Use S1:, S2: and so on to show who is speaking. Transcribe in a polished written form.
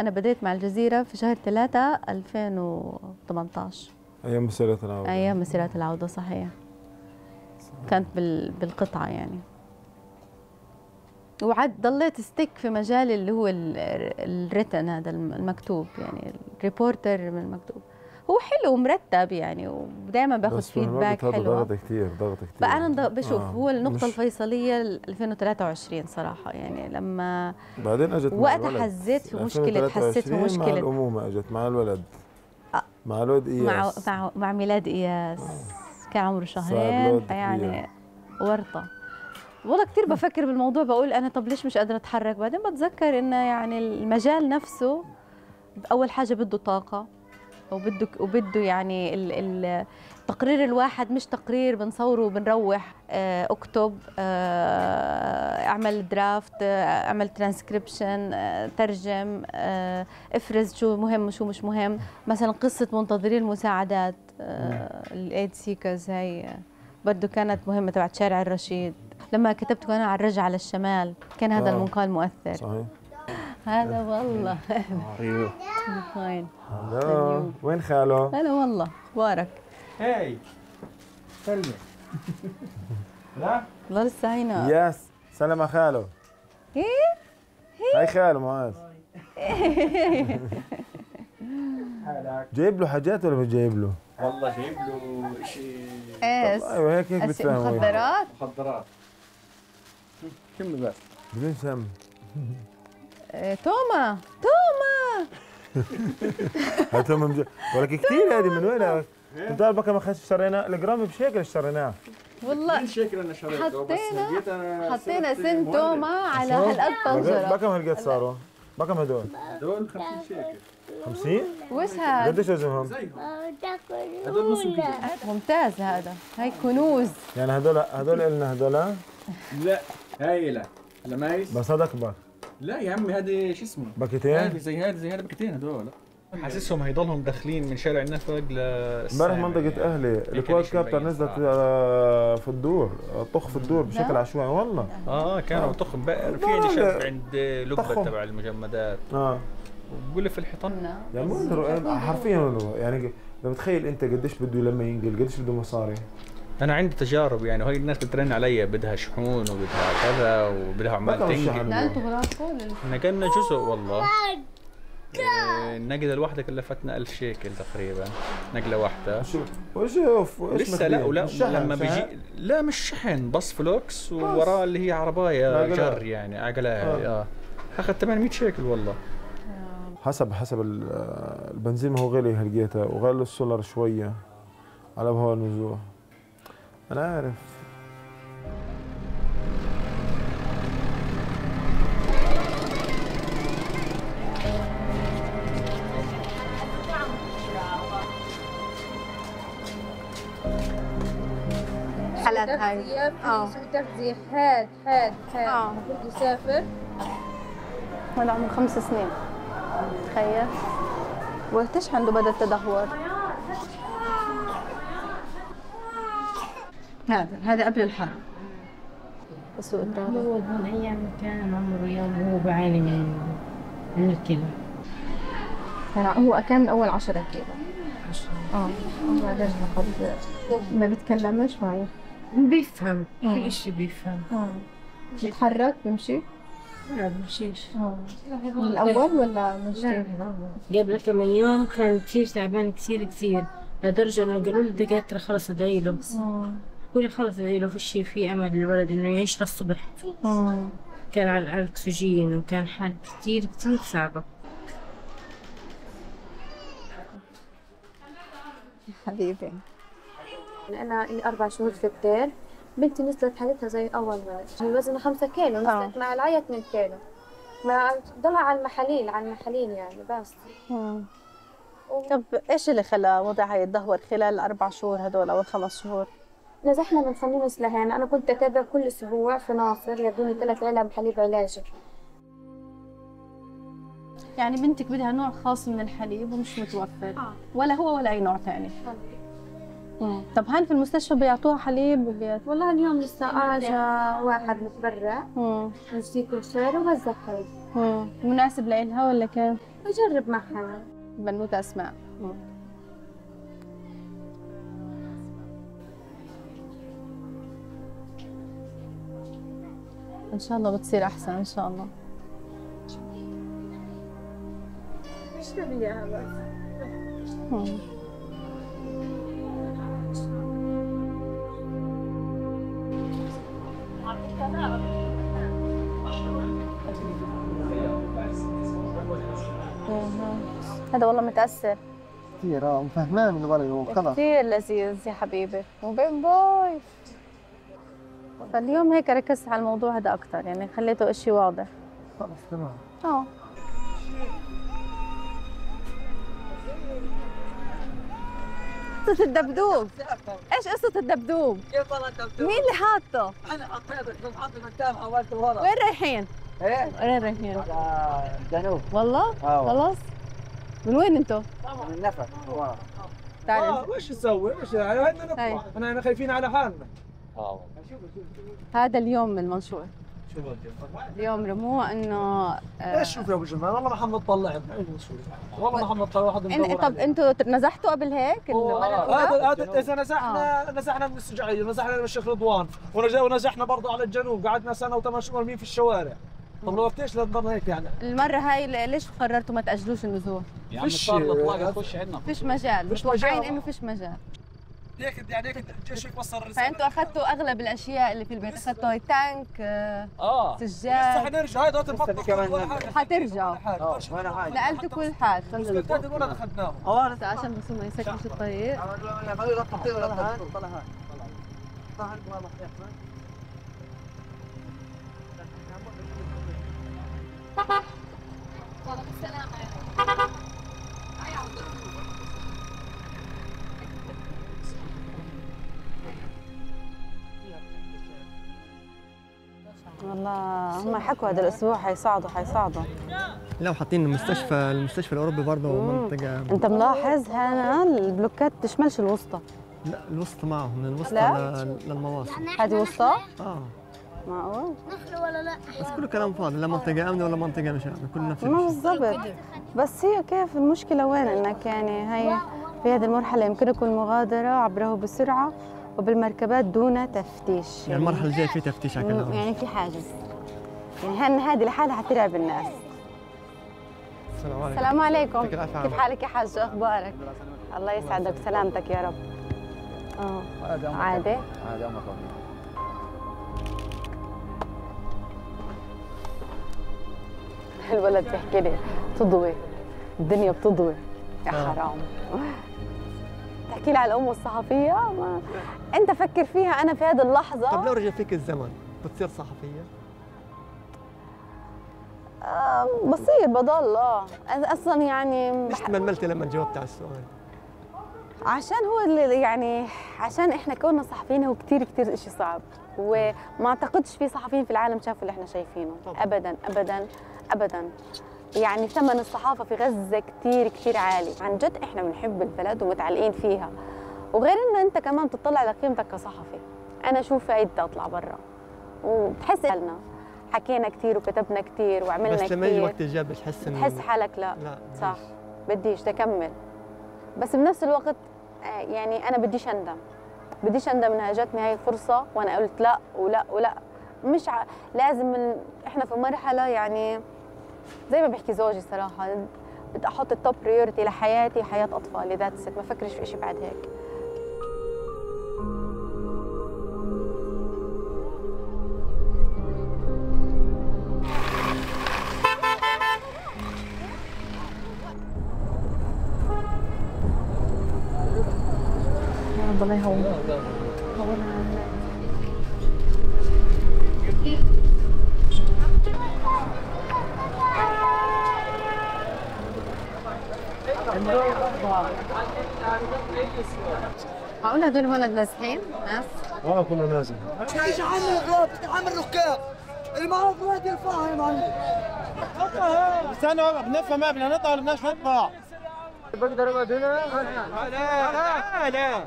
S1: أنا بديت مع الجزيرة في شهر 3 2018.
S2: أيام مسيرات العودة.
S1: أيام مسيرات العودة صحيح. كانت بالقطعة يعني. وعد ضليت ستيك في مجال اللي هو الريتن، هذا المكتوب يعني الريبورتر من المكتوب. هو حلو ومرتب يعني، ودائما باخذ فيدباك حلو.
S2: ضغط كثير ضغط كثير.
S1: فأنا بشوف هو النقطة الفيصلية 2023 صراحة، يعني لما
S2: بعدين اجت
S1: وقتها حسيت في مشكلة، حسيت في مشكلة
S2: مع الأمومة، اجت مع الولد مع الولد إياس،
S1: مع ميلاد إياس. كان عمره شهرين، فيعني ورطة. والله كثير بفكر بالموضوع، بقول أنا طب ليش مش قادرة أتحرك؟ بعدين بتذكر إنه يعني المجال نفسه أول حاجة بده طاقة، وبده يعني تقرير الواحد مش تقرير بنصوره وبنروح. اكتب، اعمل درافت، اعمل ترانسكريبشن، ترجم، افرز شو مهم وشو مش مهم. مثلا قصة منتظري المساعدات الايد سيكرز، هي برضه كانت مهمة تبعت شارع الرشيد. لما كتبت وانا على الرجعة للشمال كان هذا المقال مؤثر.
S2: صحيح.
S1: هلا والله.
S2: ايوه.
S1: وين؟
S2: هلا، وين خاله؟
S1: هلا والله، اخبارك؟
S3: هاي سلمى. لا
S1: والله لسه هينا.
S2: ياس، سلام على خاله. هاي خاله معاذ.
S3: حالك؟
S2: جايب له حاجات ولا مش جايب له؟
S3: والله جايب له شيء.
S1: ايش؟
S2: ايوه هيك بتفهم.
S1: مخدرات؟
S3: كمل بس.
S2: بدون سم.
S1: توما
S2: هاي توما ولك كثير. هذه من وين؟ انت عارف بكم اخذت اشترينا الجرام بشيكل اشتريناه.
S1: والله
S3: من شيكل انا شريته، بس
S1: حطينا سن توما على هالقد طنجرة.
S2: بكم هالقد صاروا؟ بكم هدول؟
S3: هدول 50 شيكل.
S2: 50؟
S1: وش هذا؟
S2: قديش وزنهم؟
S3: هدول نص كيلو.
S1: ممتاز هذا، هاي كنوز.
S2: يعني هدول إلنا هدول؟
S3: لا هاي لا لمايس.
S2: بس هذا اكبر.
S3: لا يا عمي هذه شو اسمه؟
S2: باكيتين؟
S3: هذه زي هذا باكيتين هدول. حاسسهم هيضلهم داخلين من شارع النفق
S2: امبارح منطقة أهلي الكواد كابتر نزلت في الدور، طخ في الدور بشكل عشوائي والله.
S3: كانوا طخ. في عندي شاب عند لبة تبع المجمدات. وبقول لي في الحيطان.
S2: يعني حرفيا يعني لو بتخيل أنت قديش بده لما ينقل، قديش بده مصاري.
S3: أنا عندي تجارب يعني، وهي الناس بترن علي بدها شحون وبدها كذا وبدها عمال تنقل.
S1: لا أنتوا براسكم؟
S3: نقلنا جزء والله. النقلة الواحدة كلفتنا 1000 شيكل تقريبا، نقلة واحدة.
S2: وشوف
S3: لسه لا لما بيجي لا مش شحن، بس فلوكس ووراه اللي هي عرباية جر يعني عقلها. أخذ 800 شيكل والله.
S2: حسب البنزين، ما هو غالي هلقيتها، وغالي السولار شوية على بهوا النزوح. أنا عارف.
S1: حالات هاي
S4: في تغذية حاد المفروض يسافر.
S1: هذا عمره 5 سنين، تخيل. وقتاش عنده بدأ التدهور؟ هذا قبل الحرب. سوء التغذية.
S4: هو من أيام كان عمره يوم وهو بعاني من الكلى.
S1: هو كان من أول 10 كيلو.
S4: 10.
S1: بعدين ما بيتكلمش معي.
S4: بيفهم كل إشي بيفهم.
S1: بيتحرك بيمشي؟
S4: لا بيمشيش.
S1: من الأول ولا مش كيف؟
S4: قبل كم يوم كان كثير تعبان كثير لدرجة إنه قالوا للدكاترة خلص ادعي له. قولي خلص ادعي له، في أمل للولد إنه يعيش للصبح. كان على الأكسجين وكان حالة كثير صعبة.
S1: حبيبي
S5: أنا لي 4 شهور في الدير. بنتي نزلت حالتها زي أول ما وزنها 5 كيلو، نزلت مع العيا 2 كيلو. ما ضلها على المحاليل يعني بس.
S1: طب إيش اللي خلى وضعها يتدهور خلال 4 شهور هدول أو 5 شهور؟
S5: نزحنا من خميس لهين. أنا كنت أتابع كل أسبوع في ناصر، يدوني 3 علب حليب علاجي.
S1: يعني بنتك بدها نوع خاص من الحليب ومش متوفر. ولا هو ولا أي نوع ثاني. طب هان في المستشفى بيعطوها حليب
S5: والله اليوم لسه اجى واحد متبرع يجزيكم خير ووزع حليب.
S1: مناسب لإلها ولا كيف؟
S5: بجرب معها.
S1: بنوتة أسماء. إن شاء الله بتصير أحسن إن شاء الله.
S5: اشربي إياها بس.
S1: هذا والله متأثر
S6: كثير فهمان الولد خلص
S1: كثير لذيذ يا حبيبي وبين باي. فاليوم هيك ركزت على الموضوع هذا أكثر، يعني خليته إشي واضح.
S6: خلص تمام.
S1: قصة الدبدوب، ايش قصة الدبدوب؟
S7: كيف والله الدبدوب؟
S1: مين اللي حاطه؟
S7: انا حطيته، كنت حاطه قدام حولته ورا.
S1: وين رايحين؟
S7: ايه؟
S1: وين رايحين؟
S7: على الجنوب.
S1: والله؟ خلص؟ من وين انتم؟
S7: من النفق ورا.
S1: تعال
S8: وش نسوي؟ وش هينا نطلع، احنا خايفين على حالنا.
S1: هذا اليوم من المنشور. اليوم رموه انه
S8: ايش شوف يا ابو جمال، والله ما حنطلع والله ما حنطلع واحد مدور.
S1: طب انتوا نزحتوا قبل هيك؟
S8: هذا اذا نزحنا من السجعيه، نزحنا من الشيخ رضوان، ونزحنا برضه على الجنوب، قعدنا سنه و8 شهور مرميين في الشوارع. طب لو ليش لنضل هيك يعني؟
S1: المره هاي ليش قررتوا ما تاجلوش النزول؟
S3: يا عم صار الاطلاق تخش عندنا.
S1: فيش مجال، متوقعين انه فيش مجال.
S8: هيك الجيش وصل الرساله.
S1: فانتوا اخذتوا اغلب الاشياء اللي في البيت، اخذتوا التانك سجاد.
S8: لسه حنرجع، هاي دوت
S1: حترجعوا. نقلتوا كل حاجه.
S8: الولد اخذناه.
S1: عشان بس ما يسكرش الطريق. والله هم حكوا هذا الاسبوع حيصعدوا.
S6: لو حاطين المستشفى الاوروبي برضه منطقه.
S1: انت ملاحظ هنا البلوكات تشملش الوسطى؟
S6: لا الوسطى معهم، من الوسطى للمواصل.
S1: هذه وسطى؟ معقول؟
S5: ولا لا؟
S6: بس كله كلام فاضي، لا منطقه امنه ولا منطقه مش امنه، كله نفس
S1: الشيء. ما بالضبط، بس هي كيف المشكله وين؟ انك يعني هي في هذه المرحله يمكنكم المغادره عبره بسرعه وبالمركبات دون تفتيش.
S6: يعني المرحله الجايه في تفتيش على كلام.
S1: يعني في حاجز، يعني هذه لحالها حترعب الناس. السلام عليكم. كيف حالك يا حاج؟ اخبارك؟ الله يسعدك، سلامتك يا رب. عادي
S7: امك.
S1: الولد بيحكي لي تضوي، الدنيا بتضوي يا حرام. تحكي لي على الام والصحفيه، ما انت فكر فيها. انا في هذه اللحظه
S6: طب لو رجع فيك الزمن بتصير صحفيه؟
S1: بصير بضل اصلا يعني.
S6: ليش تململتي لما جاوبت على السؤال؟
S1: عشان هو اللي يعني عشان احنا كوننا صحفيين هو كثير شيء صعب، وما اعتقدش في صحفيين في العالم شافوا اللي احنا شايفينه. ابدا ابدا ابدا. يعني ثمن الصحافه في غزه كثير عالي عن جد. احنا بنحب البلد ومتعلقين فيها، وغير انه انت كمان بتطلع لقيمتك كصحفي. انا شوف فايدتي اطلع برا وبتحس حالنا حكينا كثير وكتبنا كثير وعملنا كثير،
S6: بس لما يجي وقت الجد بتحس
S1: حالك لا صح بديش تكمل. بس بنفس الوقت يعني انا بديش اندم انها جاتني هاي الفرصه وانا قلت لا ولا ولا. مش لازم احنا في مرحله يعني زي ما بيحكي زوجي صراحه، بدي احط التوب بريورتي لحياتي، حياه اطفالي، ذاتس ات، ما فكرش في شيء بعد هيك. الله يهون معقول هدول ولد نازحين ناس؟
S2: كنا نازل.
S7: ايش عامل الغاب؟ عامل ركاب المعروف واحد يرفعها يا معلم.
S2: استنوا بنفهم، بدنا نطلع ولا بدناش نطلع؟
S7: بقدر اقعد هنا؟ لا